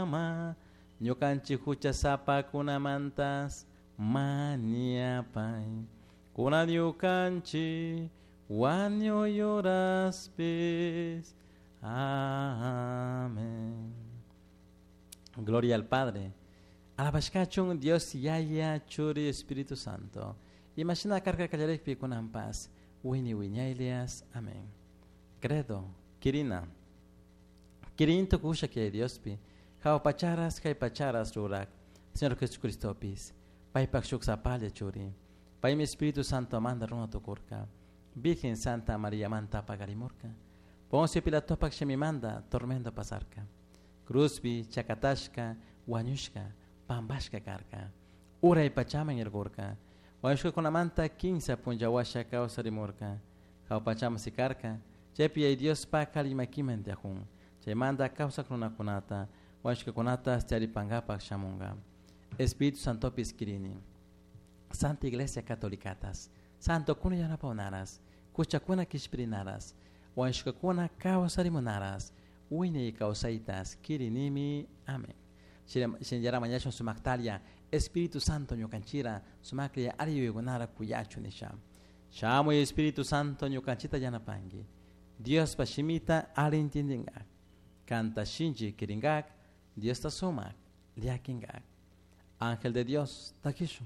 Mama, ñukanchik huchasapakunamantas mañapay. Kunan ñukanchik wañuy horaspis. Amén. Gloria al Padre. Alabashkachun Dios Yaya Churi Espíritu Santo. Imashina karka kallarikpi kunanpas wini wiñaylias. Amén. Credo. Kirina. Kirin tukusha que Diospi. Jawa pacharas kay pacharas rurak. Señor Jesucristopis. Paypak shuk sapalla churi. Paymi Espíritu Santo manda runa tukurka. Virgen Santa María manta pagarimurka. Poncio Pilatopak shimimanda tormento pasarka. Cruzpi chakatashka wañushka pampashka karka. Uray pachaman yarkurka. Wañushkakunamanta kinsa punlla washa kawsarimurka. Jawa pachaman sikarka. Chaypi Yaya Diospak alli makiman tiyajun. Chaymanta kawsak runakunata wañushkakunata charipankapak shamunka. Espíritu Santopis kirini. Santa Iglesia Catolicatas. Santokuna yanapawnaras. Huchakuna kishpirinaras. Wañushkakuna kawsarimunaras. Wiñay kawsaytas kirinimi. Amén. Shinallara mañashun sumaktalia Espíritu Santo ñukanchira sumaklla alli yuyaykunara kuyachu nisha. Shamuy Espíritu Santo ñukanchita yanapanki. Diospa shimita alli intindingak. Kanta shinchi kirinkak. Diosta sumak llakinkak. Ángel de Dios, takishun.